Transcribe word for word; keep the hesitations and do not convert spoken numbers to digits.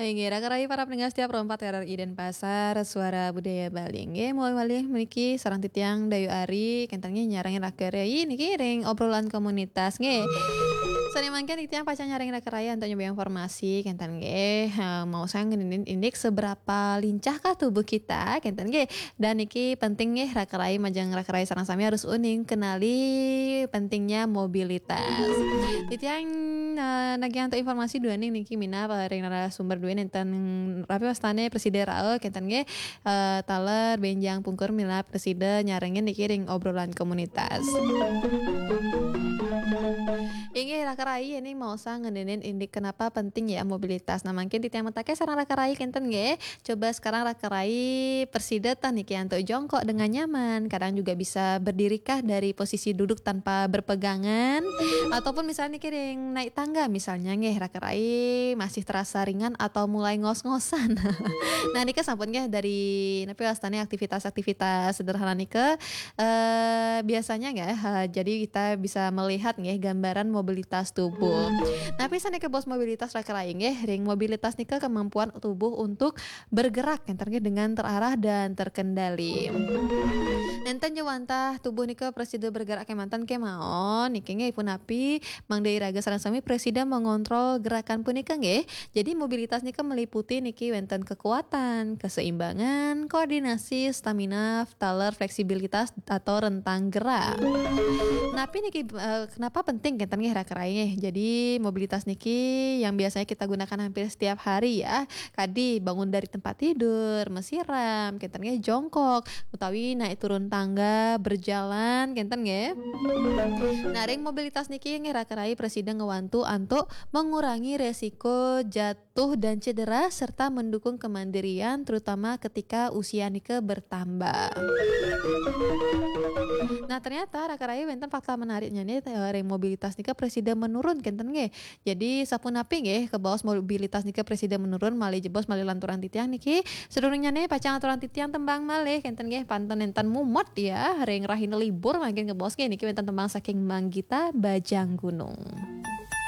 Inggih, raka rayi para pendengar setia Pro empat R R I Denpasar, Suara Budaya Bali. Inggih, malih niki sareng titiang Dayu Ari, kenten nggih nyarengin raka rayi niki ring obrolan komunitas nggih. Sane mangkin titiang pacang nyarengin raka rayi antuk nyoba informasi kenten nggih. Eh, mau sang ngenenin indik seberapa lincahkah tubuh kita kenten nggih. Dan niki penting nggih raka rayi majeng raka rayi sareng sami harus uning kenali pentingnya mobilitas. Titiang eh, nagih antuk informasi duaning niki minab ring narasumber duaning nenten rapi wastane presida rae kenten nggih eh, taler benjang pungkur minab presida nyarengin niki ring obrolan komunitas. Inggih raka rayi ini mau sang ngenenin indik kenapa penting ya mobilitas. Nah, mungkin titiang metake sareng raka rayi kenten nggih. Coba sekarang raka rayi presida tah niki antuk jongkok dengan nyaman. Kadang juga bisa berdirikah dari posisi duduk tanpa berpegangan ataupun misalnya niki ring naik tangga misalnya nggih raka rayi masih terasa ringan atau mulai ngos-ngosan. Nah, nika sampun nggih dari napi wastane aktivitas-aktivitas sederhana nika eh biasanya nggih eh, jadi kita bisa melihat nggih gambaran mobilitas tubuh. Napi sanika bos mobilitas raka rayi nggih ring mobilitas nika kemampuan tubuh untuk bergerak kenten nggih dengan terarah dan terkendali. Nenten jawantah tubuh nika presida bergerak kemanten kemawon niki nggih punapi mangda iraga sareng sami presida mengontrol gerakan punika nggih. Jadi mobilitas nika meliputi niki wenten kekuatan, keseimbangan, koordinasi, stamina, taler fleksibilitas atau rentang gerak. Napi niki eh, kenapa penting kenten nggih raka rayi nggih. Jadi mobilitas niki yang biasanya kita gunakan hampir setiap hari ya. Kadi bangun dari tempat tidur, mesiram, kenten nggih jongkok, utawi naik turun tangga, berjalan, kenten nggih. Nah, ring mobilitas niki nggih raka rayi presida ngewantu antuk mengurangi resiko jatuh dan cedera serta mendukung kemandirian terutama ketika usia nika bertambah. Nah, ternyata raka rayi wenten fakta menariknya nih eh, ring mobilitas nika presida menurun kenten nggih. Jadi sapunapi nggih kebaos mobilitas nika presida menurun malih jebos malih lanturan titiang niki. Sadurungnya nih pacang aturan titiang tembang malih kenten nggih panten enten mumut ya ring rahina libur mangkin kebaos nggih niki wenten tembang saking Manggita Bajang Gunung.